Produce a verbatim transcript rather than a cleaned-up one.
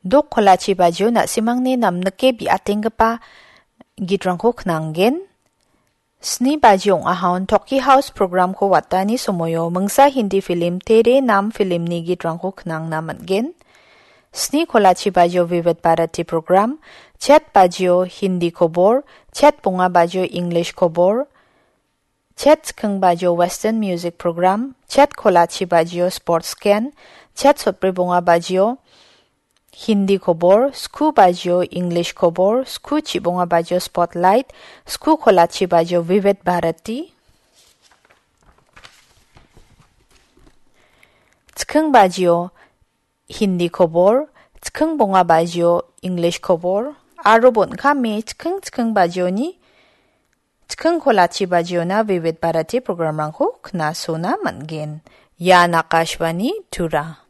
Dok kolachi bajio na·simangni namnike bi·atenggipa gitrangko knanggen. Sni baji ong·ahon Toki House programko watani somoio mingsa Hindi film Tere Naam filmni gitrangko knangna man·gen. Sni kolachi bajio Vivid Bharati program, chet bajio Hindi kobor, chet bonga bajio English kobor, chet chiking bajio Western music program, chet kolachi bajio sports scan, chet sotbri bonga bajio Hindi kobor, sku bajio English kobor, sku chibonga bajio spotlight, sku kolachi bajio Vivid Bharati, chiking bajio Hindi kobor, chiking bonga bajio English kobor, aro bon·kame chiking chiking bajioni chiking kolachi bajiona Vivid Bharati programrangko knasona man·gen. Ian Akashvani Tura.